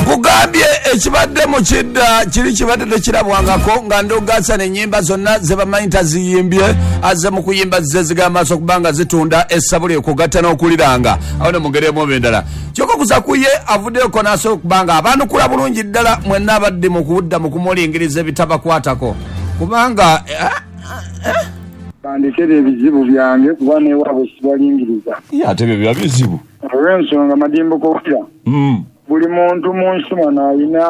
Nkugambye ekibadde mu kidda kiri kibadde tekirabwangako nga Ndugga n'ennyimba zonna ze bamanyi taziyimbye, azze mu kuyimba zze zigamba maaso okuba nga zitunda essabuli okugatta n'okuliranga awo ne mu ngeri emu oba endala. Kyokka okuza ku ye avuddeyoko n'asobola okuba nga abanukula bulungi ddala mwenna abadde mu kudda mu kumulingiriza ebitabakwatako kubanga Bandekere ebizibu byange kuba n'ewaabwe sibalingiriza. Ye ate ebyo biba bizibu. Olw'ensonga Madimbuko wulira, buli muntu mu nsi muno alina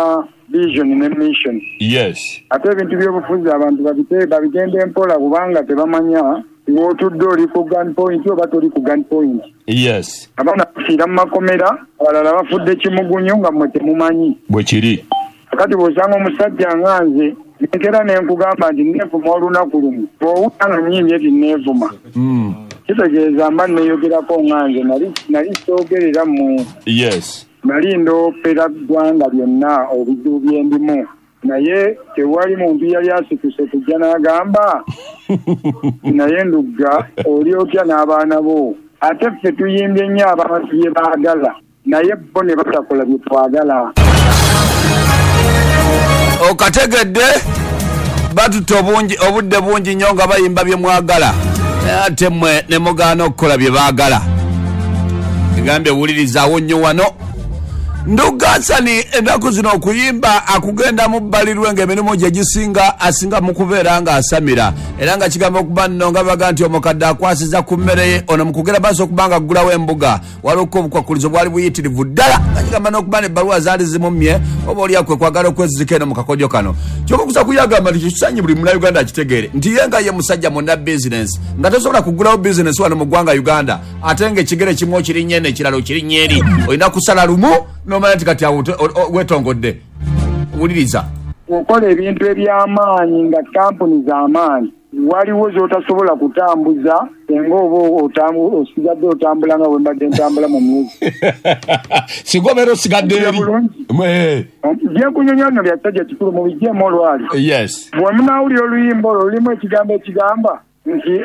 vision ne mission. Yes. Ate ebintu by'obufuzi abantu babite babigende mpola kubanga tebamanya w'otudde oli ku gun point oba toli ku gun point. Yes. Abaana bafiira mu makomera, abalala bafudde kimugunyu nga mmwe temumanyi. Bwe kiri. Kakati bw'osanga omusajja nga nze nenkera ne nkugamba nti neevuma olunaku lumu, bw'owulira nga nnyimbye nti neevuma, kitegeeza mba neeyogerako nga nze nali nali soogerera mmwe. Yes. Nali ndoopera ggwanga lyonna obizibu bye ndimu, naye tewali muntu yali asituse kujja n'agamba naye Ndugga oli otya n'abaana bo. Ate ffe tuyimbye nnyo abantu bye baagala naye bo ne batakola bye twagala. Okategedde batutta obungi obudde bungi nnyo nga bayimba bye mwagala naye ate mmwe ne mugaana okukola bye baagala. Egambye wulirizaawo nnyo wano. Ndugga Hassan ennaku zino okuyimba akugenda mu bbalirwe ng'emirimu gye gisinga asinga mu kubeera ng'asamira era nga kigamba okuba nno nga baga nti omukadde akwasiza ku mmere ye ono mu kugenda maaso okuba nga aggulawo embuga waliwo obukwakkulizo bwali buyitirivu ddala nga kigamba n'okuba n'ebbaluwa zaali zimummye oba oli kwe kwagala okwezizika eno mu kakodyo kano. Kyokka okusa kuyagamba nti kisanyi buli Munnayuganda akitegeere nti ye nga ye musajja munna bizinensi nga tosobola kuggulawo bizinensi wano mu ggwanga Uganda ate ng'ekigere kimu okirinnya eno ekirala okirinnya eri, olina kusala lumu n'omanya nti kati awo weetongodde. Wuliriza. Okola ebintu eby'amaanyi nga kampuni z'amaanyi, waliwo z'otasobola kutambuza singa oba osigadde otambula nga bwe mbadde ntambula mu music. Singa obeera osigadde eri. Bulungi. Byenkunyonyola bino bya kisajja kikulu mubiggyemu olwali. Yes. Bwe munaawulira oluyimba olwo lulimu ekigambo ekigamba nti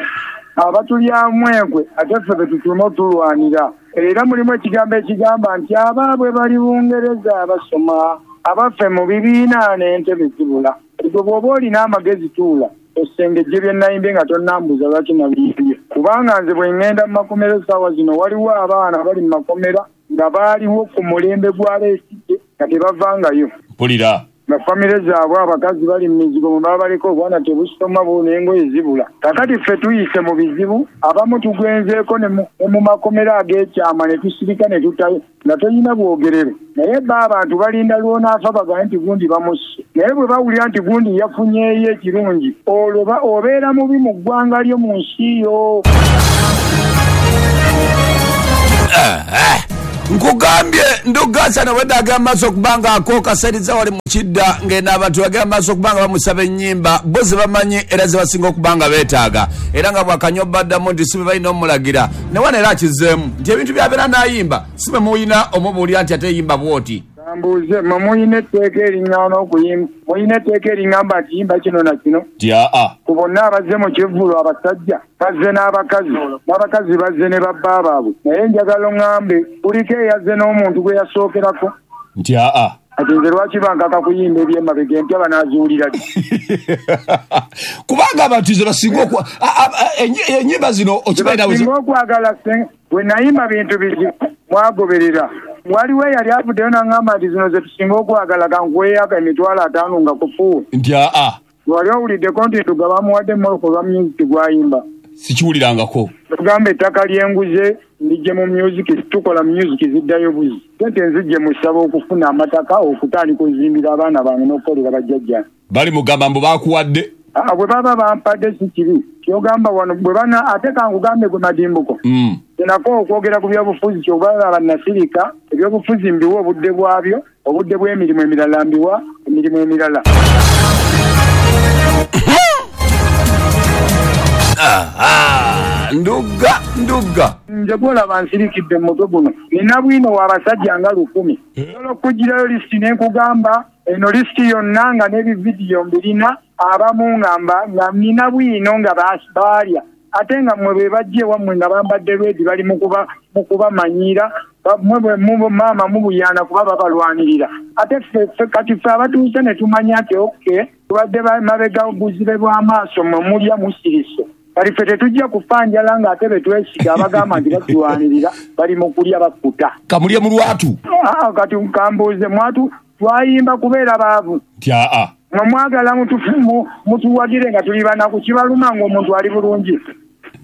abatulyamu enkwe ate ffe be tutuuma otulwanira. Era mulimu ekigambo ekigamba nti abaabwe bali Bungereza basoma, abaffe mu bibiina n'entebe zibula. Gwe bw'oba olina amagezi tuula osengejje bye nayimbye nga tonnambuuza lwaki nabiyimbye. Kubanga nze bwe ŋŋenda mu makomera essaawa zino waliwo abaana abali mu makomera nga baaliwo ku mulembe gwa Besigye nga tebavangayo. Mpulira. Nga famire zaabwe abakazi bali mu mizigo mwe baba baleka obwana tebusoma n'engoye zibula. Kakati ffe tuyise mu bizibu, abamu tugwenzeeko ne mu makomera ag'ekyama ne tusirika ne tutayo nga tolina bwogerero. Naye bo abantu balinda lw'onaafa bagambe nti gundi bamusse. Naye bwe bawulira nti gundi yafunyeeyo ekirungi, olwo obeera mubi mu ggwanga lyo mu nsi yo. Nkugambye Ndugga Hassan obwedda agenda maaso okuba nga akooka sente wali mu kidda ng'eno abantu bagenda maaso okuba nga bamusaba ennyimba bo ze bamanyi era ze basinga okuba nga beetaaga era nga bw'akanywa baddamu nti si bwe balina omulagira ne wano era akizzeemu nti ebintu by'abeera n'ayimba si bwe muyina omubuulira nti ate yimba bw'oti. Kambuuze, mmwe muyina etteeka eriŋŋaana okuyimba? Muyina etteeka eriŋŋamba nti yimba kino na kino? Nti aa. Ku bonna abazze mu kivvulu abasajja bazze n'abakazi, n'abakazi bazze ne babba baabwe. Naye njagala oŋŋambe kuliko eyazze n'omuntu gwe yasookerako? Nti aa. Kati nze lwaki bankaka kuyimba eby'emabega empya banaaziwulira ddi? Kubanga abantu ze basinga ennyimba zino okimanyi nawe. Basinga okwagala bwe nayimba bintu bizibu mwagoberera. Waliwo eyali avuddeyo n'aŋŋamba nti zino ze tusinga okwagala kankuweeyako 50,000 nga kufuuwe. Nti aa. Wali owuliddeko nti Ndugga bamuwadde emmoloka olwa music gw'ayimba? Sikiwulirangako. Tugamba ettaka ly'enguze ndijje mu music, tukola music ziddayo buzi. Sente nzijje mu ssabo okufuna amataka okutandika okuzimbira abaana bange n'okukolera bajjajja. Bali mugamba mbu baakuwadde. Bwe baba bampadde si kibi. Ky'ogamba wano bwe bana ate kankugambe gwe Madimbuko. Nako okwogera ku byobufuzi ky'oba bannasirika, ebyobufuzi mbiwa obudde bwabyo, obudde bw'emirimu emirala mbiwa emirimu emirala. Ndugga Ndugga. Nze gw'olaba nsirikidde mu mutwe guno. Nina bwino w'abasajja nga 1000. Nsobola okugirayo lisiti ne nkugamba eno lisiti yonna nga n'ebividiyo mbirina abamu nga nina bwino nga baalya. Ate nga mmwe be bajja ewammwe nga bambadde redi bali mu kubamanyiira, Maama mubuyaana kuba babalwanirira. Ate ffe kati ffe abatuuse ne tumanya nti okay, tubadde mabega buzibe bw'amaaso, mmwe mulya musirise. Kati ffe tetujja kufa njala ng'ate be twesiga abagamba nti batulwanirira bali mu kulya bakkuta. Kamulye mu lwatu. Kati kambuuze, mwatu twayimba kubeera baavu? Nti aa. Mwe mwagala mutuwagire nga tuli banaku, kibaluma ng'omuntu ali bulungi.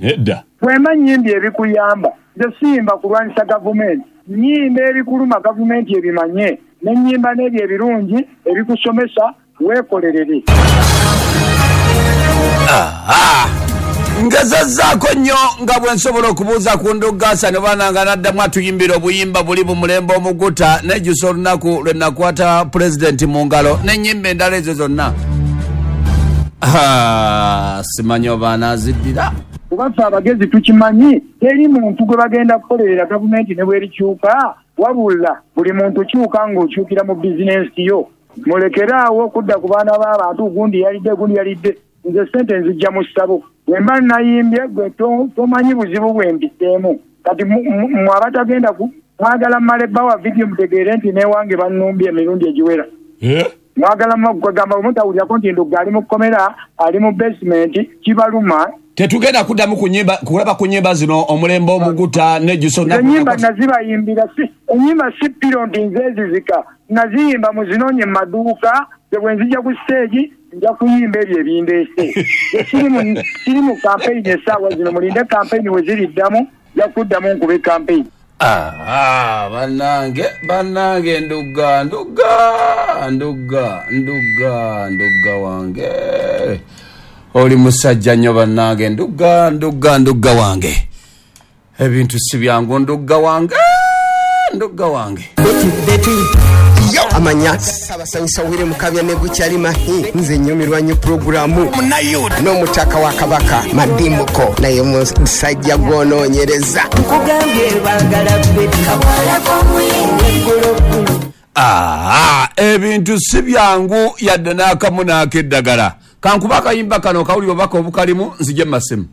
Nedda. Bwemba nnyimbye ebikuyamba, nze siyimba kulwanyisa gavumenti. Nnyimba ebikuluma gavumenti ebimanye, ne nnyimba n'ebyo ebirungi ebikusomesa weekolerere. Ngezezzaako nnyo nga bwe nsobola okubuuza ku Ndugga ne baana nga n'addamu atuyimbira obuyimba buli bumulembe omuguta, nejjusa olunaku lwe nakwata pulezidenti mu ngalo n'ennyimba endala ezo zonna. Simanyi oba anaaziddira. Kuba ffe abagezi tukimanyi, teri muntu gwe bagenda kukolerera gavumenti ne bwerikyuka, wabula buli muntu kyuka ng'okyukira mu bizinensi yo. Mulekere awo okudda ku baana b'abantu, gundi yalidde, gundi yalidde. Nze ssente nzijja mu ssabo. Bwe mba nayimbye gwe tomanyi buzibu bwe mbiseemu. Kati mmwe abatagenda ku mwagala mmale bbawa vidiyo mutegeere nti n'ewange bannumbye emirundi egiwera. Mwagala kwegamba bwe mutawulirako nti Ndugga ali mu kkomera, ali mu basement, kibaluma. Tetugenda kuddamu kulaba ku nnyimba zino omulembe omuguta nejjusa. Ennyimba nazibayimbira, ennyimba si piro nti nze ezizika, naziyimba muzinoonye mu maduuka. Nze bwe nzija ku siteegi nja kuyimba ebyo ebindeese. Siri mu kampeyini essaawa zino, mulinde kampeyini we ziriddamu, nja kuddamu nkube kampeyini. Bannange, bannange, Ndugga, Ndugga, Ndugga, Ndugga, Ndugga wange, oli musajja nnyo. Bannange, Ndugga, Ndugga, Ndugga wange, ebintu si byangu. Ndugga wange, Ndugga wange. Amanya Ssaabasanyusa Wire Mukabya ne Gukyali Mahi, nze nnyumirwa nnyo pulogulaamu n'omutaka wa Kabaka Madimuko, naye musajja gwonoonyereza. Nkugambye baagala Betty kawalako. Ebintu si byangu yadde n'akamu n'akeddagala. Kankuba akayimba kano kawuli obubaka obukalimu, nzije mu masimu.